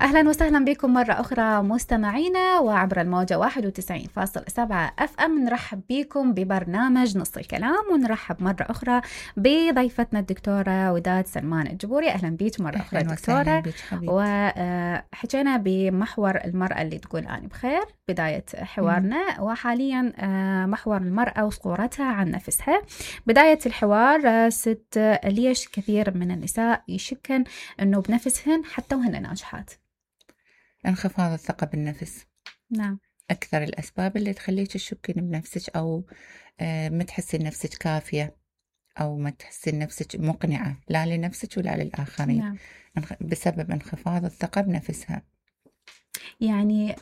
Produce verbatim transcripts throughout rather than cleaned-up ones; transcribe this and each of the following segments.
أهلا وسهلا بكم مرة أخرى مستمعينا، وعبر الموجة واحد وتسعين فاصلة سبعة أف أم نرحب بكم ببرنامج نص الكلام، ونرحب مرة أخرى بضيفتنا الدكتورة وداد سلمان الجبوري. أهلا بيك مرة أخرى دكتورة. وحكينا بمحور المرأة اللي تقول أنا بخير بداية حوارنا، وحاليا محور المرأة وصورتها عن نفسها. بداية الحوار ست، ليش كثير من النساء يشكن أنه بنفسهن حتى وهن ناجحات؟ انخفاض الثقة بالنفس. نعم. أكثر الأسباب اللي تخليك تشكين بنفسك، أو ما تحسين نفسك كافية، أو ما تحسين نفسك مقنعة لا لنفسك ولا للآخرين. نعم. بسبب انخفاض الثقة بنفسها. يعني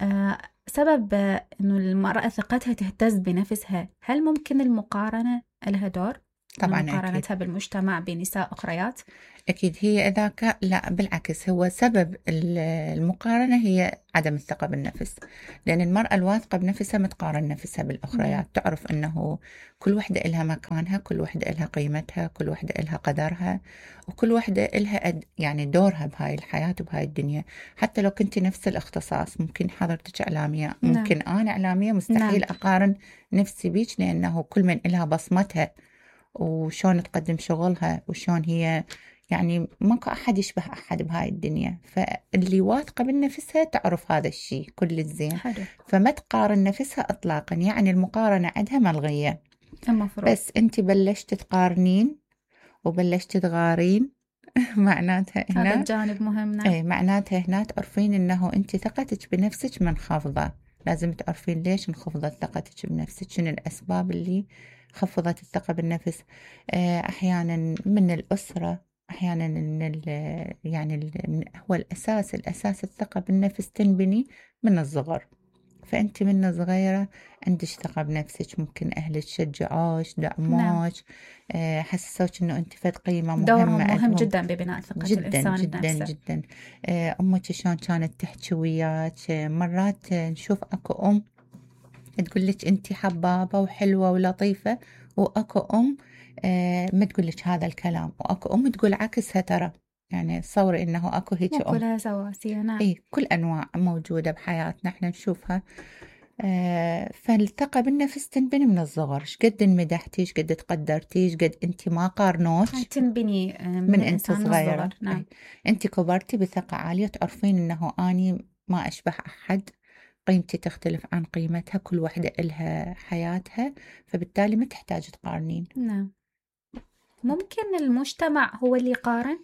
سبب أنه المرأة ثقتها تهتز بنفسها، هل ممكن المقارنة لها دور؟ طبعا مقارنتها أكيد. بالمجتمع بنساء أخريات؟ أكيد هي إذا كان، لا بالعكس، هو سبب المقارنة هي عدم الثقة بالنفس، لأن المرأة الواثقة بنفسها متقارن نفسها بالأخريات. مم. تعرف أنه كل وحدة إلها مكانها، كل وحدة إلها قيمتها، كل وحدة إلها قدرها، وكل وحدة إلها يعني دورها بهاي الحياة وبهاي الدنيا. حتى لو كنت نفس الاختصاص، ممكن حضرتك إعلامية، ممكن نعم. أنا إعلامية، مستحيل نعم. أقارن نفسي بيك، لأنه كل من إلها بصمتها وشون تقدم شغلها وشون هي، يعني ماكو أحد يشبه أحد بهاي الدنيا. فاللي واثقة بنفسها تعرف هذا الشيء كل الزين، فما تقارن نفسها إطلاقا. يعني المقارنة عندها ملغية. المفروض. بس أنت بلشت تقارنين وبلشت تغارين معناتها هنا هذا الجانب مهم. نعم. ايه معناتها هنا تعرفين انه انت ثقتك بنفسك منخفضة. لازم تعرفين ليش انخفضت ثقتك بنفسك، شنو الأسباب اللي خفضت الثقة بالنفس. أحيانا من الأسرة، أحيانا من يعني ال هو الأساس الأساس الثقة بالنفس تنبني من الصغر. فأنت من صغيرة عندك ثقة بنفسك، ممكن أهلك شجعوش، دعموش، نعم. حسسوك إنه أنت فد قيمة مهمة. دورهم مهم جدا ببناء ثقة جداً الإنسان جدا بنفسه. جدا. أمك شلون كانت تحكي وياك؟ مرات نشوف أكو أم تقول لك أنت حبابة وحلوة ولطيفة، وأكو أم ما تقول لك هذا الكلام، وأكو أم تقول عكسها. ترى يعني تصوري إنه أكو هيك أم. كلها سواسية. نعم. إيه، كل أنواع موجودة بحياتنا احنا نشوفها. آه فالثقة بالنفس تنبني من الصغر. شقد مدحتي، شقد تقدرتي، شقد أنت ما قارنوش، تنبني من, من أنت صغيرة. نعم. أنت كبرتي بثقة عالية، تعرفين إنه أني ما أشبه أحد، قيمتي تختلف عن قيمتها، كل واحدة إلها حياتها، فبالتالي ما تحتاج تقارنين. نعم. ممكن المجتمع هو اللي يقارن،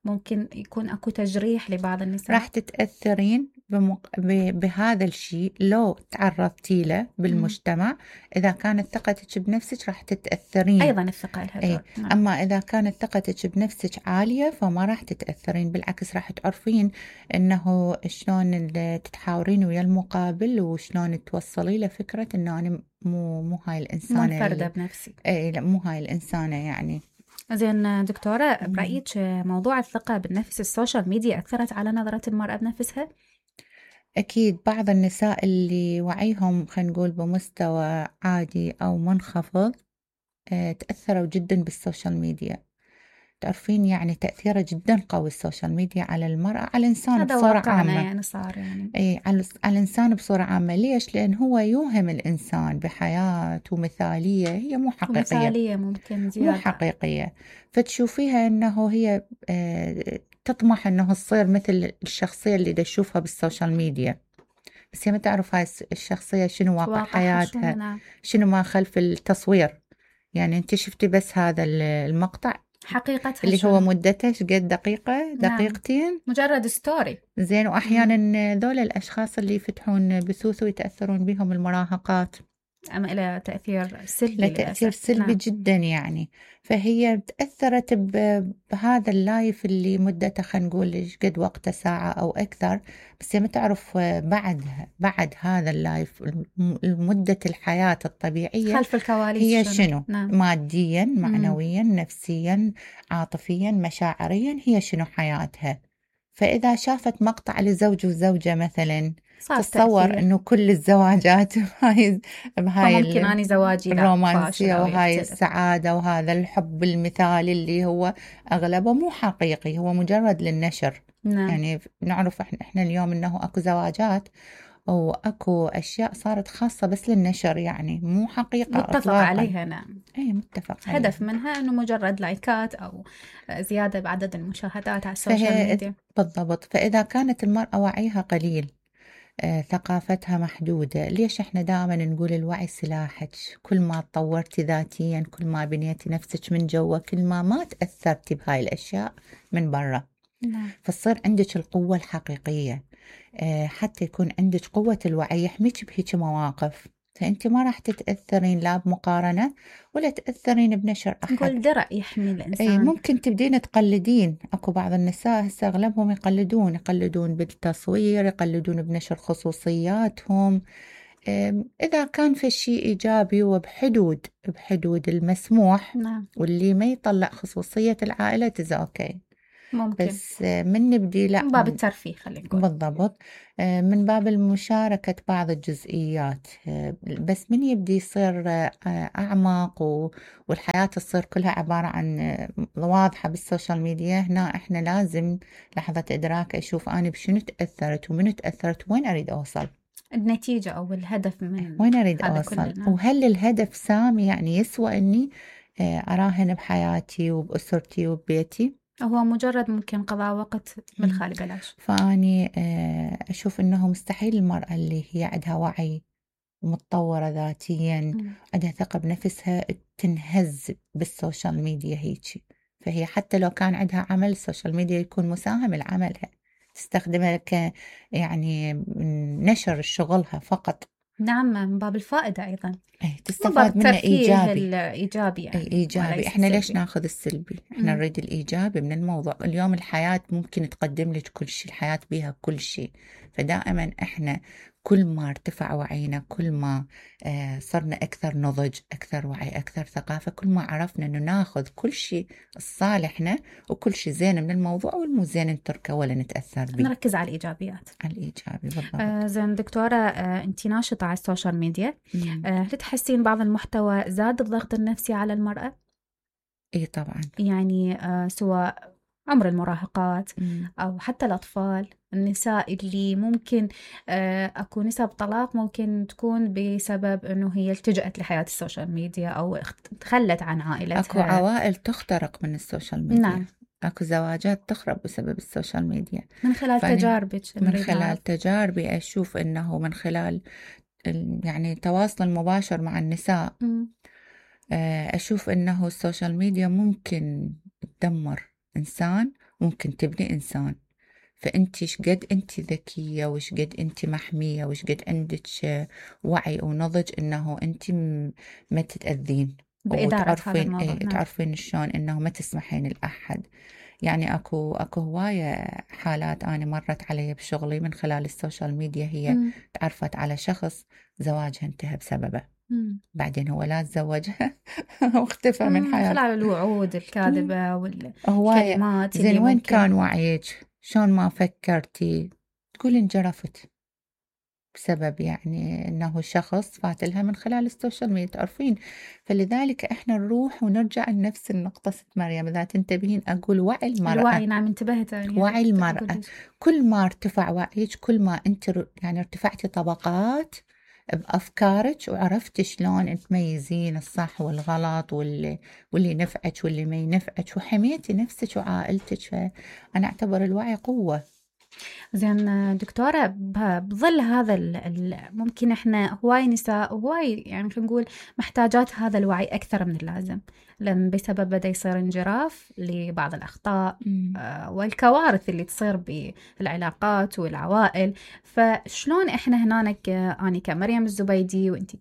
ممكن يكون أكو تجريح لبعض النساء. راح تتأثرين بمق... ب... بهذا الشيء لو تعرضتي له بالمجتمع. م. إذا كانت ثقتك بنفسك راح تتأثرين. أيضا الثقة لها دور. نعم. أما إذا كانت ثقتك بنفسك عالية فما راح تتأثرين، بالعكس راح تعرفين إنه شلون تتحاورين ويا المقابل، وشلون توصلي له فكرة إنه أنا مو مو هاي الإنسانة منفردة بنفسي. أي لا، مو هاي الإنسانة يعني. زين دكتورة، برأيك موضوع الثقة بالنفس السوشيال ميديا أثرت على نظرة المرأة بنفسها؟ أكيد. بعض النساء اللي وعيهم خلينا نقول بمستوى عادي أو منخفض تأثروا جدا بالسوشيال ميديا. تعرفين يعني تأثيره جدا قوي السوشيال ميديا على المرأة، على الإنسان بصورة عامة. يعني صار يعني أي على على الإنسان بصورة عامة. ليش؟ لأن هو يوهم الإنسان بحياة ومثالية هي مو حقيقية. مثالية ممكن زيادة. مو حقيقية. فتشوفيها أنه هي تطمح أنه تصير مثل الشخصية اللي تشوفها بالسوشيال ميديا، بس هي ما تعرف هاي الشخصية شنو واقع حياتها، نعم. شنو ما خلف التصوير. يعني أنت شفتي بس هذا المقطع حقيقتها اللي شنو؟ هو مدته قد دقيقة دقيقتين. نعم. مجرد ستوري. زين. وأحيانا ذول الأشخاص اللي يفتحون بثوث ويتأثرون بهم المراهقات، أما إلى تأثير سلبي. لا تأثير سلبي. نعم. جدا يعني. فهي تأثرت بهذا اللايف اللي مدته خلينا نقول قد وقته ساعة أو أكثر، بس هي ما تعرف بعد بعد هذا اللايف مدة الحياة الطبيعية خلف الكواليس هي شنو, شنو؟ نعم. ماديا، معنويا، مم. نفسيا، عاطفيا، مشاعريا، هي شنو حياتها. فإذا شافت مقطع لزوج وزوجة مثلا، تتصور انه كل الزواجات بهاي بهاي ممكن اني زواجي الرومانسية وهاي السعادة وهذا الحب المثالي اللي هو اغلبه مو حقيقي، هو مجرد للنشر. نعم. يعني نعرف احنا احنا اليوم انه اكو زواجات واكو اشياء صارت خاصة بس للنشر، يعني مو حقيقة متفق اطلاقا. عليها. نعم. اي متفق هدف عليها. منها انه مجرد لايكات او زيادة بعدد المشاهدات على السوشيال فهي ميديا. بالضبط. فاذا كانت المرأة وعيها قليل، آه، ثقافتها محدودة، ليش احنا دائما نقول الوعي سلاحك؟ كل ما تطورتي ذاتيا، كل ما بنيتي نفسك من جوا، كل ما ما تأثرتي بهاي الأشياء من برا، نعم. فتصير عندك القوة الحقيقية. آه، حتى يكون عندك قوة الوعي يحميك بهيك مواقف، فأنت ما راح تتأثرين لا بمقارنة ولا تأثرين بنشر أحد. نقول درع يحمي اي الإنسان. ممكن تبدين تقلدين. اكو بعض النساء هسه اغلبهم يقلدون يقلدون بالتصوير، يقلدون بنشر خصوصياتهم. أم، اذا كان في شيء ايجابي وبحدود بحدود المسموح، نعم. واللي ما يطلع خصوصية العائلة تزا اوكي. ممكن بس آه، من نبدي لا من باب الترفيه خلينا نقول. بالضبط. آه، من باب المشاركة بعض الجزئيات. آه، بس من يبدي يصير آه، أعمق و- والحياة تصير كلها عبارة عن آه، واضحة بالسوشيال ميديا، هنا إحنا لازم لحظة إدراك أشوف أنا بشنو تأثرت ومن تأثرت وين أريد أوصل، النتيجة أو الهدف من وين أريد هذا أوصل، كله. نعم. وهل الهدف سامي يعني يسوى إني آه، أراهن بحياتي وبأسرتي وببيتي. هو مجرد ممكن قضاء وقت بالخالي بلاش. فأني آه، أشوف إنه مستحيل المرأة اللي هي عندها وعي ومتطورة ذاتيا، مم. عندها ثقة بنفسها، تنهز بالسوشيال ميديا هيجي. فهي حتى لو كان عندها عمل، السوشيال ميديا يكون مساهم لعملها، تستخدمها ك يعني نشر شغلها فقط. نعم، من باب الفائدة أيضا، ايه من باب تستفاد منه الترفيه إيجابي. الإيجابي يعني، اي إيجابي. وليس احنا ليش السلبي. ناخذ السلبي؟ احنا مم. نريد الإيجابي من الموضوع. اليوم الحياة ممكن تقدم لك كل شيء، الحياة بيها كل شيء. فدائما احنا كل ما ارتفع وعينا، كل ما آه صرنا أكثر نضج، أكثر وعي، أكثر ثقافة، كل ما عرفنا إنه ناخذ كل شيء الصالحنا وكل شيء زين من الموضوع، والمو زين نتركه ولا نتأثر به. نركز على الإيجابيات. على الإيجابي بالضبط. آه زين دكتورة، آه أنت ناشطة على السوشيال ميديا، مم. آه هل تحسين بعض المحتوى زاد الضغط النفسي على المرأة؟ اي طبعا. يعني آه سواء عمر المراهقات مم. أو حتى الأطفال، النساء اللي ممكن آه، أكو نسب طلاق ممكن تكون بسبب أنه هي التجأت لحياة السوشيال ميديا أو اخت- تخلت عن عائلتها. اكو عوائل تخترق من السوشيال ميديا. نعم. اكو زواجات تخرب بسبب السوشيال ميديا. من خلال فأنا تجاربك من نريد خلال نعرف. تجاربي أشوف أنه من خلال ال- يعني التواصل المباشر مع النساء، مم. آه، أشوف أنه السوشيال ميديا ممكن تدمر إنسان، ممكن تبني إنسان. فأنت شقد أنت ذكية وشقد أنت محمية وشقد عندك آه، وعي ونضج أنه أنت م- ما تتأذين، بإدارة هذا وتعرفين الموضوع. إيه نعم. تعرفين شلون أنه ما تسمحين لأحد. يعني اكو اكو هواية حالات انا مرت علي بشغلي من خلال السوشيال ميديا. هي مم. تعرفت على شخص زواجها انتهى بسببه، مم. بعدين هو لا تزوجها واختفى من مم. من حياته. خلال الوعود الكاذبة هواية. والكلمات زين اللي وين ممكن. كان وعيك؟ شلون ما فكرتي؟ تقول انجرفت بسبب يعني انه شخص فات لها من خلال السوشيال ميديا، تعرفين. فلذلك احنا نروح ونرجع لنفس النقطة. ست مريم اذا تنتبهين اقول وعي المرأة. الوعي. نعم، انتبهت. يعني وعي كنت المرأة. أقول لك. كل ما ارتفع وعيك، كل ما انت ر- يعني ارتفعتي طبقات بأفكارك، وعرفتي شلون تميزين الصح والغلط واللي, واللي ينفعك واللي ما ينفعك، وحميتي نفسك وعائلتك. فأنا أعتبر الوعي قوة. زين دكتورة، ب- بظل هذا ال- ال- ممكن احنا هواي نساء وهواي يعني خلينا نقول محتاجات هذا الوعي أكثر من اللازم، لأن بسبب بدأ يصير انجراف لبعض الأخطاء مم. آه، والكوارث اللي تصير بالعلاقات والعوائل. فشلون احنا هناك، آه، أنا كمريم الزبيدي وانتي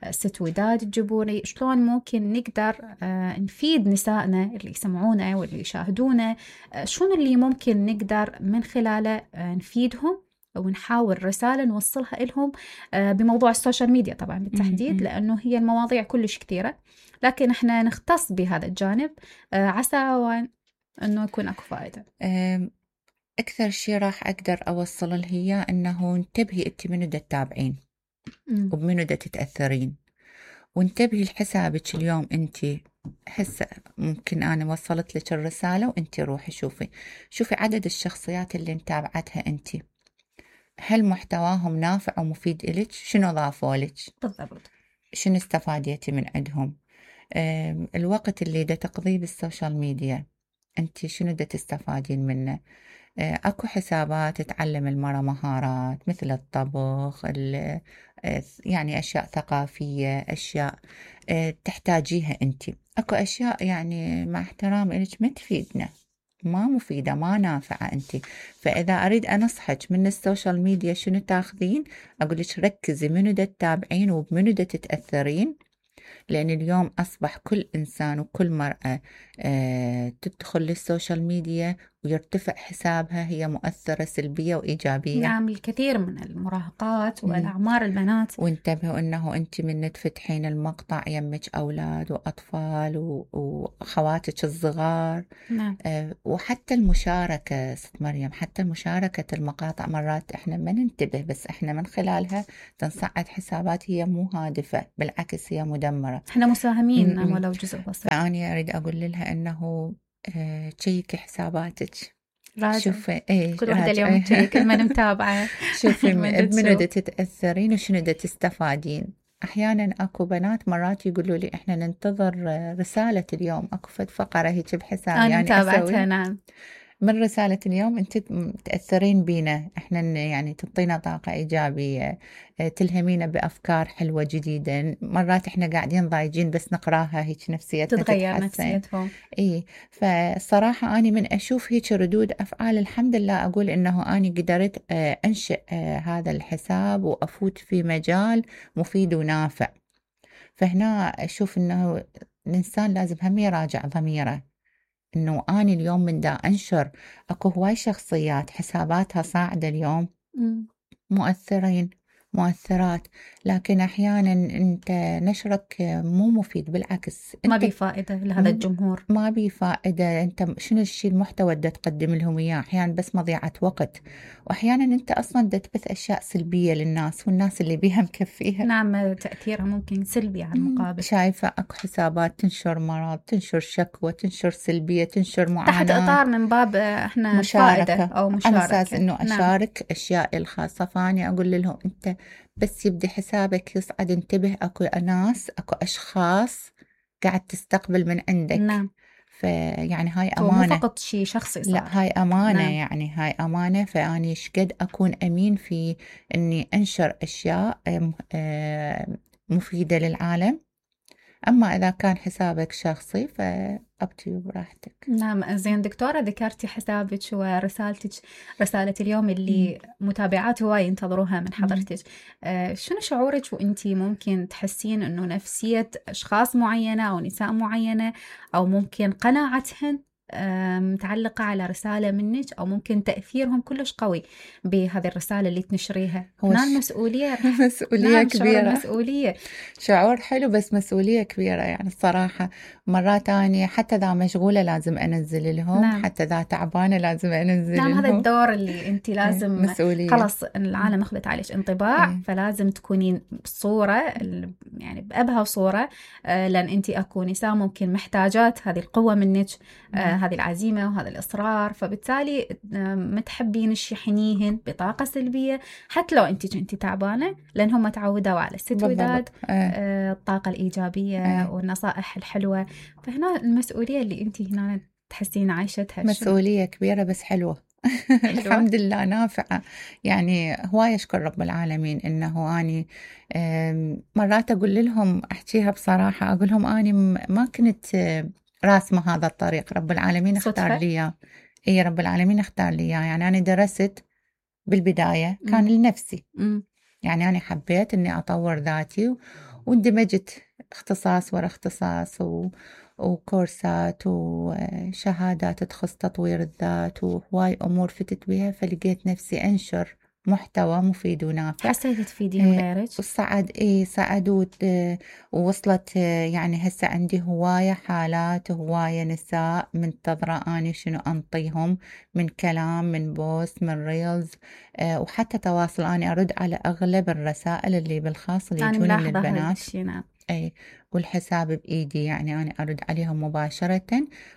كست وداد الجبوري، شلون ممكن نقدر آه، نفيد نسائنا اللي يسمعونا واللي يشاهدونا؟ آه، شلون اللي ممكن نقدر من خلاله آه، نفيدهم ونحاول رسالة نوصلها لهم آه، بموضوع السوشيال ميديا طبعا بالتحديد، مم. لأنه هي المواضيع كلش كثيرة، لكن احنا نختص بهذا الجانب آه، عسى وأن- أنه يكون أكو فائدة. أم، أكثر شيء راح أقدر أوصل له هي أنه انتبهي أنت منو دا تتابعين مم. وبمنو دا تتأثرين، وانتبهي لحسابك اليوم. أنت هسه ممكن أنا وصلت لك الرسالة وأنت روحي شوفي شوفي عدد الشخصيات اللي متابعتها أنت، هل محتواهم نافع ومفيد إلك؟ شنو ضافوا لك؟ بالضبط. شنو استفاديتي من عندهم؟ الوقت اللي دا تقضيه بالسوشيال ميديا أنت شنو دا تستفادين منه؟ أكو حسابات تعلم المرأة مهارات مثل الطبخ، يعني أشياء ثقافية، أشياء تحتاجيها أنت. أكو أشياء يعني مع احترام إلك ما تفيدنا، ما مفيدة، ما نافعة أنت. فإذا أريد أنصحك من السوشيال ميديا شنو تاخذين، أقولك ركزي منو دا تتابعين وبمنو دا تتأثرين، لأن اليوم أصبح كل إنسان وكل مرأة آه تدخل للسوشيال ميديا ويرتفع حسابها هي مؤثرة سلبية وإيجابية. نعم، الكثير من المراهقات والأعمار البنات. وانتبهوا أنه أنت من تفتحين المقطع يمك أولاد وأطفال وأخواتك الصغار. نعم. آه وحتى المشاركة ست مريم، حتى مشاركة المقاطع مرات إحنا ما ننتبه، بس إحنا من خلالها تنصعد حسابات هي مو هادفة، بالعكس هي مدمرة. إحنا مساهمين ولو جزء بسيط. فأنا أريد أقول لها أنه آه تشيكي حساباتك، شوفي ايه كل واحدة اليوم تشيك من متابعة شوفي منو دا تتأثرين وشنو دا تستفادين. أحيانا أكو بنات مرات يقولوا لي إحنا ننتظر رسالة اليوم، أكو فد فقرة هيك بحساب أنا يعني متابعتها. نعم. من رسالة اليوم أنت تأثرين بينا، إحنا يعني تعطينا طاقة إيجابية، تلهمينا بأفكار حلوة جديدة. مرات إحنا قاعدين ضايجين بس نقراها هيك نفسيتنا تتغير نفسيتهم. إيه. فالصراحة أنا من أشوف هيك ردود أفعال الحمد لله أقول إنه أنا قدرت أنشئ هذا الحساب وأفوت في مجال مفيد ونافع. فهنا أشوف إنه الإنسان لازم هم يراجع ضميره، إنه أنا اليوم من دا أنشر أكو هواي شخصيات حساباتها صاعدة اليوم م. مؤثرين مؤثرات، لكن أحيانا أنت نشرك مو مفيد، بالعكس ما بي فائدة لهذا الجمهور، ما بي فائدة. أنت شنو الشيء المحتوى اللي تقدم لهم إياه؟ أحيانا بس مضيعة وقت، وأحيانا أنت أصلا دا تبث أشياء سلبية للناس والناس اللي بيها مكفيها. نعم، تأثيرها ممكن سلبي على المقابل. شايفة أكو حسابات تنشر مرض، تنشر شكوى، تنشر سلبية، تنشر معاناة تحت إطار من باب إحنا مشاركة أو مشاركة، على أساس إنه أشارك نعم. أشياء الخاصة. فاني أقول لهم أنت بس يبدي حسابك يصعد انتبه، أكو ناس أكو أشخاص قاعد تستقبل من عندك. نعم. فيعني هاي أمانة، مو فقط شيء شخصي صار. لا هاي أمانة. نعم. يعني هاي أمانة. فأني شقد أكون أمين في إني أنشر أشياء مفيدة للعالم. أما إذا كان حسابك شخصي فأبتي براحتك. نعم. زين دكتورة، ذكرتي حسابك ورسالتك، رسالة اليوم اللي م. متابعات هواي ينتظروها من حضرتك. آه شنو شعورك وإنتي ممكن تحسين إنه نفسية أشخاص معينة أو نساء معينة أو ممكن قناعتهن متعلقة على رسالة منك، أو ممكن تأثيرهم كلش قوي بهذه الرسالة اللي تنشريها؟ هنا المسؤولية مسؤولية نعم كبيرة. شعور المسؤولية، شعور حلو بس مسؤولية كبيرة. يعني الصراحة مرات أنا حتى ذا مشغولة لازم أنزل لهم. نعم. حتى ذا تعبانة لازم أنزل نعم لهم. هذا الدور اللي أنت لازم مسؤولية. خلاص العالم أخذت عليك انطباع. م. فلازم تكونين بصورة يعني بأبهى صورة، لأن أنت أكو نساء ممكن محتاجات هذه القوة منك، هذه العزيمة وهذا الإصرار. فبالتالي ما تحبين تشحنيهن بطاقة سلبية حتى لو أنت كنتي تعبانة، لأنهم تعودوا على الستوداد، آه. الطاقة الإيجابية آه. والنصائح الحلوة. فهنا المسؤولية اللي أنت هنا تحسين عايشتها مسؤولية كبيرة بس حلوة. الحمد لله نافعة. يعني هواي أشكر رب العالمين إنه أني مرات أقول لهم أحكيها بصراحة، أقول لهم أني ما كنت راسمة هذا الطريق، رب العالمين اختار لي. إيه رب العالمين اختار لي. يعني أنا درست بالبداية كان م. لنفسي. م. يعني أنا حبيت إني أطور ذاتي واندمجت اختصاص ورا اختصاص و... وكورسات وشهادات تخص تطوير الذات وهواي أمور فتت بها. فلقيت نفسي أنشر محتوى مفيد ونافع. حسيت تفيدين غيرك؟ وصعد إيه صعدوا ووصلت. يعني هسه عندي هواية حالات، هواية نساء منتظرة أني شنو أنطيهم من كلام، من بوست، من ريلز، أه وحتى تواصل. أنا أرد على أغلب الرسائل اللي بالخاص اللي يجون من البنات. نعم. أي والحساب بإيدي، يعني أنا أرد عليهم مباشرة،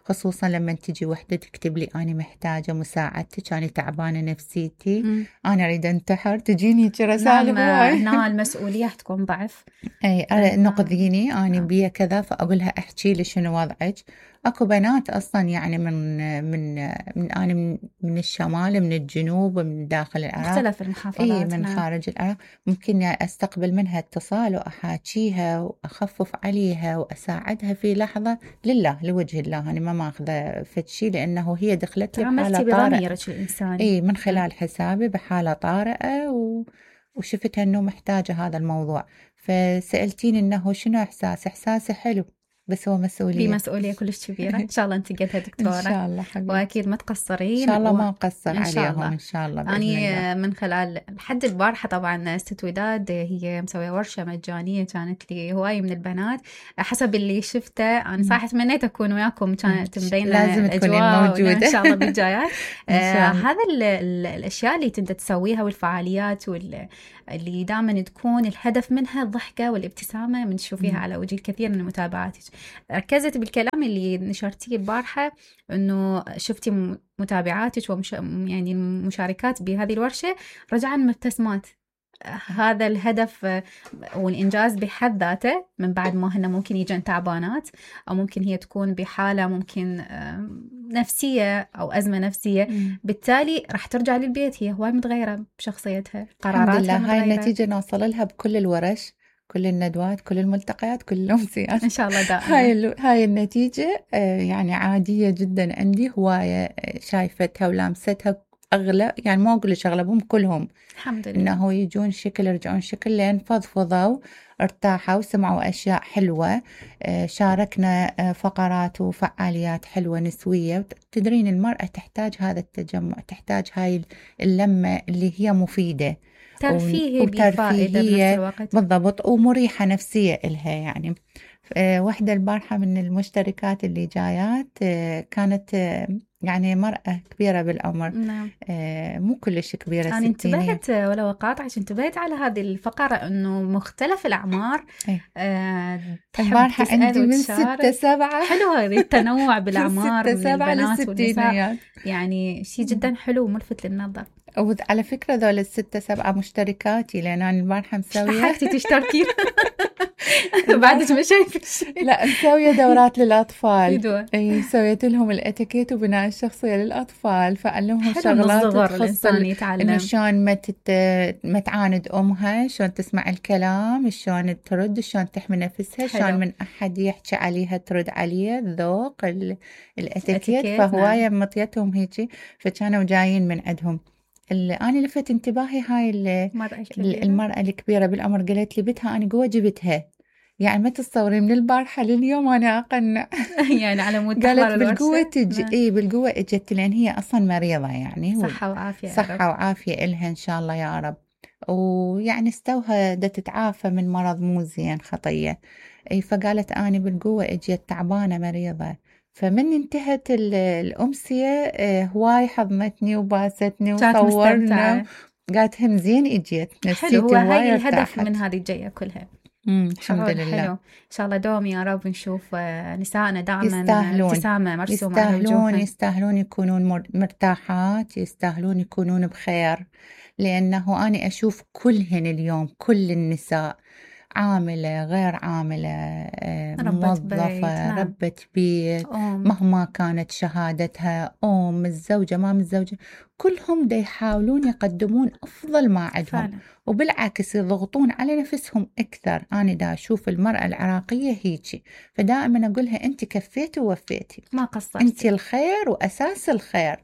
خصوصا لما تجي وحدة تكتب لي أنا محتاجة مساعدتك، أنا تعبانة نفسيتي، م. أنا أريد أنتحر، تجيني رسائل هواي. هنا المسؤولية تكون ضعف. أي نقذيني أنا بيا كذا، فأقولها احكي لي شنو وضعك. أكو بنات أصلا يعني من من من أنا من, من الشمال، من الجنوب، من داخل العراق، مختلف المحافظات. إيه من خارج العراق، ممكن أستقبل منها اتصال وأحاكيها وأخفف عليها وأساعدها في لحظة، لله لوجه الله، أنا ما ماخذة فتشي، لأنه هي دخلت لي بحالة طارئة إيه من خلال حسابي بحالة طارئة و... وشفتها أنه محتاجة هذا الموضوع، فسألتيني أنه شنو إحساس. إحساسي حلو، بس هو مسؤولية، بمسؤولية كلش كبيرة. إن شاء الله أنت قدها دكتورة. إن شاء الله حبيبتي. وأكيد ما تقصرين. إن شاء الله و... ما أقصر عليهم إن شاء الله بإذن أنا الله. من خلال لحد البارحة طبعا ست وداد هي مسوية ورشة مجانية، كانت لي هواي من البنات حسب اللي شفته. أنا صراحة تمنيت أكون وياكم، كانت مبينة لازم تكونين موجودة إن شاء الله بالجايات. آه هذا ال ال الأشياء اللي تنت تسويها والفعاليات وال اللي دائما تكون الهدف منها الضحكة والابتسامة من تشوفيها على وجه الكثير من متابعاتك. ركزت بالكلام اللي نشرتيه البارحة، إنه شفتي متابعاتك ومش يعني المشاركات بهذه الورشة رجعن مبتسمات. هذا الهدف والإنجاز بحد ذاته، من بعد ما هن ممكن يجن تعبانات أو ممكن هي تكون بحالة ممكن نفسية أو أزمة نفسية، م. بالتالي راح ترجع للبيت هي هواي متغيرة بشخصيتها، قراراتها الحمد لله. متغيرة. هاي النتيجة نوصل لها بكل الورش، كل الندوات، كل الملتقيات، كل الأمسيات إن شاء الله دائما. هاي هاي النتيجة يعني عادية جدا عندي، هواية شايفتها ولامستها أغلب، يعني ما أقول لك أغلبهم، كلهم الحمد لله إنه يجون شكل يرجعون شكل، لين فضفضوا ارتاحوا وسمعوا أشياء حلوة، شاركنا فقرات وفعاليات حلوة نسوية. تدرين المرأة تحتاج هذا التجمع، تحتاج هاي اللمة اللي هي مفيدة، ترفيهية بفائدة بنفس الوقت، بالضبط، ومريحة نفسية إلها. يعني واحدة البارحة من المشتركات اللي جايات كانت يعني مرأة كبيرة بالعمر، نعم. آه مو كلش كبيرة، أنا انتبهت ولو قاطعت، انتبهت على هذه الفقرة إنه مختلف الأعمار. آه البارحة عندي من ستة سبعة، حلو هذه التنوع بالأعمار من سبعة البنات والنساء، يعني شيء جدا حلو وملفت للنظر. وعلى فكرة ذول الستة سبعة مشتركاتي، لأن أنا البارحة مسوية حقتي تشتركين بعدك ما شايفة شيء. لا مسوية دورات للأطفال، اي سويت لهم الاتيكيت وبناء الشخصية للأطفال، فعلمهم شغلات تخص إنه شلون ما تت... ما تعاند أمها، شلون تسمع الكلام، شلون ترد، شلون تحمي نفسها، شلون من أحد يحكي عليها ترد عليه، الذوق ال... الاتيكيت. فهواية نعم. مطيتهم هيجي، فكانوا جايين من عندهم. أنا لفت انتباهي هاي المرأة الكبيرة بالعمر، قالت لي بتها أنا قوة جبتها، يعني ما تتصوري من البارحة لليوم أنا أقنع يعني على مود قالت بالقوة تجي، إيه بالقوة اجت، لأن هي أصلا مريضة يعني، صحة وعافية، صحة وعافية إلها إن شاء الله يا رب، ويعني استوها دا تتعافى من مرض مو زين خطية. إيه فقالت أنا بالقوة اجت تعبانة مريضة. فمن انتهت الأمسية هواي حضنتني وباستني وصورنا، قالت هم زين اجيت نفسيتي هواي. حلو، هاي الهدف ارتاحت. من هذه الجاية كلها. الحمد لله. حلو. إن شاء الله دوم يا رب نشوف نسائنا دائما يستاهلون ابتسامة مرسومة يستاهلون على وجوههم. يستاهلون يكونون مرتاحات، يستاهلون يكونون بخير، لأنه أنا أشوف كلهن اليوم، كل النساء عاملة غير عاملة، موظفة، ربة بيت، مهما كانت شهادتها، أم، الزوجة، ما الزوجة، كلهم دا يحاولون يقدمون أفضل ما عندهم، وبالعكس يضغطون على نفسهم أكثر. أنا دا أشوف المرأة العراقية هيجي، فدائما أقولها أنت كفيتي ووفيتي، ما قصرتي، أنت الخير وأساس الخير،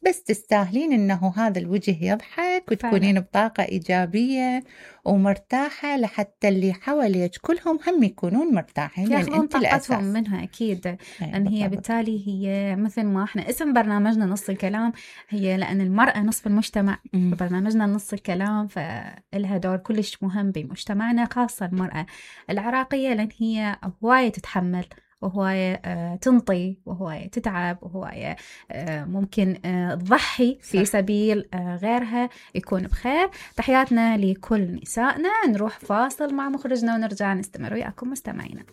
بس تستاهلين أنه هذا الوجه يضحك وتكونين بطاقة إيجابية ومرتاحة، لحتى اللي حواليك كلهم هم يكونون مرتاحين، لأن أنت طاقتهم منها أكيد. لأن هي بالتالي هي مثل ما احنا اسم برنامجنا نص الكلام، هي لأن المرأة نصف المجتمع، برنامجنا نص الكلام فإلها دور كلش مهم بمجتمعنا، خاصة المرأة العراقية، لأن هي هواية تتحمل وهواية آه تنطي، وهواية تتعب، وهواية آه ممكن آه تضحي في سبيل آه غيرها يكون بخير. تحياتنا لكل نسائنا. نروح فاصل مع مخرجنا ونرجع نستمر وياكم مستمعينا.